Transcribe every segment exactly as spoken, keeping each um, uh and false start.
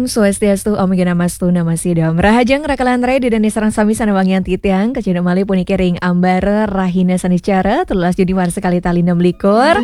Swastiastu, Om Gena Mastu Namo Sidam. Rahajeng rakalan rai, ida dané sareng sami sané wangian titiang, kacunduk malih puniki ring ambara rahina Sanicara, telulas Juni warsa kalih tali enam likur.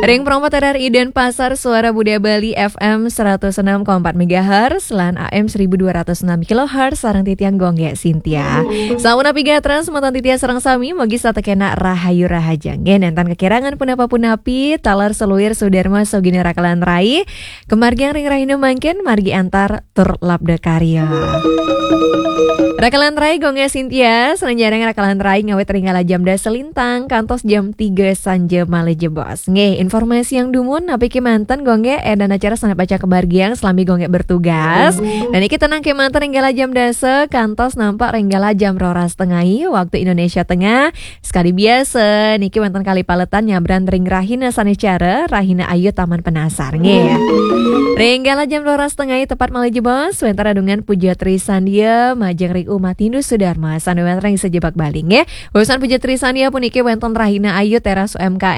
Ring Pro empat R R I Denpasar, Suara Budaya Bali, F M seratus enam koma empat megahertz lan A M seribu dua ratus enam kilohertz, sareng titiang Gung Gé Sintia. Sampun napi gatra semeton titiang sareng sami, mugi setata kenak rahayu rahajeng. Nggih, nénten kekirangan punapa-punapi, taler saluir sadarma sugih rakalan rai. Kamargiang ring rahina mangkin, margi antar tur labda karya. Rakalan rai, Gung Gé Sintia, sané nyarengin rakalan rai ngawit ring kala jam dasa lintang kantos jam tiga sanja malih jebos. Nggih, informasiang dumun napi kémanten, Gung Gé, édan acara sané pacang kamargiang selami Gung Gé bertugas. Dan niki tenang kémanten ring kala jam dasa kantos nampek ring kala jam roras tengai waktu Indonesia Tengah. Sekadi biasa, niki wénten kalih paletan nyabran ring rahina Sanicara, rahina Ayu Taman Penasar, nggih. Ring kala jam roras tengai tepat malih jebos, wénten redungan Puja Trisandia majeng ring Umat Hindu Sudarma sané wénten ring sajebag Bali, nggih. Urusan Puja Trisandia puniki wénten rahina Ayu teras U M K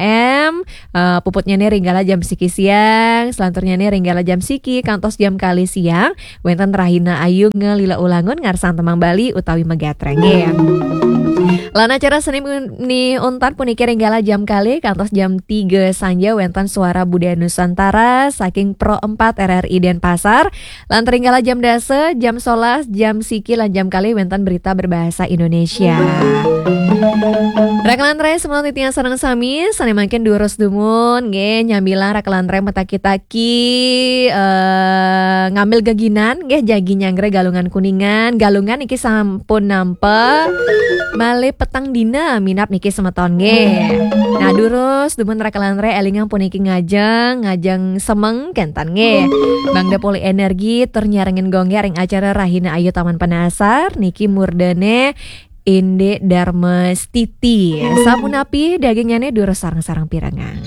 M, eh, puputnyané ring kala jam siki siang, selanturnyané ring kala jam siki kantos jam kalih siang, wénten rahina Ayu ngelila ulangun ngarsang tembang Bali utawi megatreng, nggih. Lan acara seni muni untat puniki ring kala jam kalih kantos jam tiga sanja wénten Suara Budaya Nusantara saking Pro empat R R I Denpasar. Lan ring kala jam dasa, jam solas, jam siki lan jam kalih wénten berita berbahasa Indonesia. Rakalan rai, semeton titiang sareng sami, sané mangkin durus dumun, nggih, nyamilang rakalan rai mataki-taki, eh, ngambil geginan, nggih, jagi nyanggra Galungan Kuningan, Galungan niki sampun nampek malih petang dina minab niki semeton, nggih. Nah, durus dumun rakalan rai, élingang puniki ngajeng, ngajeng semeng kénten, nggih. Mangda polih energi tur nyarengin Gung Gé ring acara Rahina Ayu Taman Penasar niki murdané Indik Darma Stiti. Sapunapi dagingnyané durus sareng-sareng pirengang.